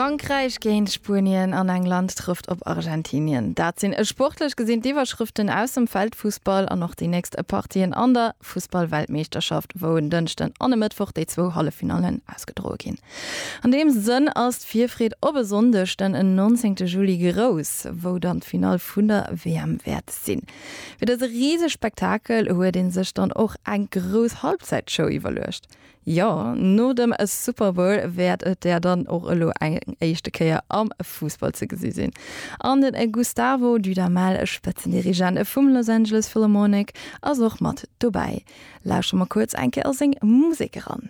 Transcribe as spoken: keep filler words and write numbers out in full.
Frankräich géint Spuenien an England trëfft op Argentinien. Dat sinn sportlech gesinn d'Iwwerschrëften aus dem Weltfussball an och déi nächst Partien an der Fussballweltmeeschterschaft, wou en Dënschden an e Mëttwoch déi zwou Halleffinallen ausgedroe ginn. An deem Sënn ass d'Virfreed op e Sonndeg den neunzehnte Juli grouss, wou dann d'Finall vun der W M wäert sinn. Fir dëse risege Spektakel huet een sech dann och eng grouss Halbzeitshow iwwerluecht. Jo, no dem Super Bowl wäert et der dann och elo eng éischte Kéier am Fussball ze gesi sinn. An den Gustavo Dudamel, Spëtzendirigent vum Los Angeles Philharmonic, ass och mat dobäi. Lauschtere mer kuerz eng Kéier a seng Musek eran.